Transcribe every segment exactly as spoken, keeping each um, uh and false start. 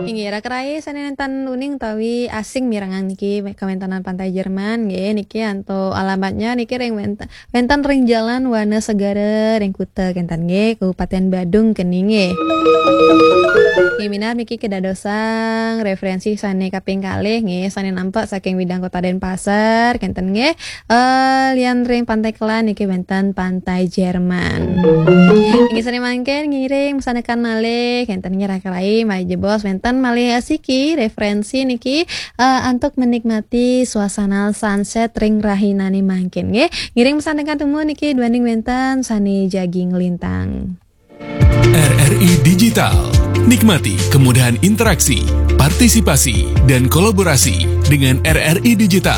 Inggih, raka rai sané nénten uning utawi asing mirengang niki kawéntenan Pantai Jerman nggih, niki antuk alamatnya niki ring wénten, wénten ring Jalan Wana Segara ring Kuta kénten nggih, Kabupaten Badung keni nggih. Nggih, minab niki kadadosang réferénsi sané kaping kalih nggih, sané nampek saking Widang Kota Denpasar kénten nggih. Eh, lian ring Pantai Kelan niki wénten Pantai Jerman. Inggih sané mangkin ngiring masandekan malih, kénten nggih raka rai malih jebos wénten malih siki réferénsi niki eh, antuk menikmati suasana sunset ring rahinané mangkin nggih. Ngiring masandekan tumun niki duaning wénten sané jagi nglintang. R R I Digital. Nikmati kemudahan interaksi, partisipasi, dan kolaborasi dengan R R I Digital.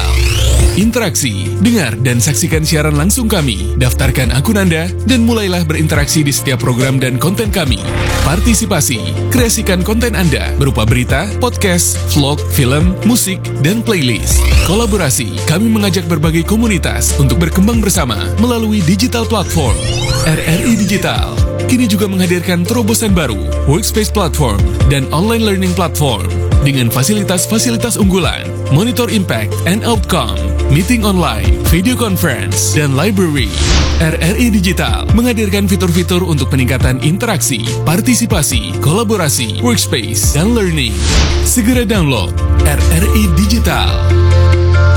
Interaksi, dengar dan saksikan siaran langsung kami. Daftarkan akun Anda dan mulailah berinteraksi di setiap program dan konten kami. Partisipasi, kreasikan konten Anda berupa berita, podcast, vlog, film, musik, dan playlist. Kolaborasi, kami mengajak berbagai komunitas untuk berkembang bersama melalui digital platform. R R I Digital kini juga menghadirkan terobosan baru, Workspace Platform dan Online Learning Platform dengan fasilitas-fasilitas unggulan, monitor impact and outcome, meeting online, video conference, dan library. R R I Digital menghadirkan fitur-fitur untuk peningkatan interaksi, partisipasi, kolaborasi, workspace, dan learning. Segera download R R I Digital.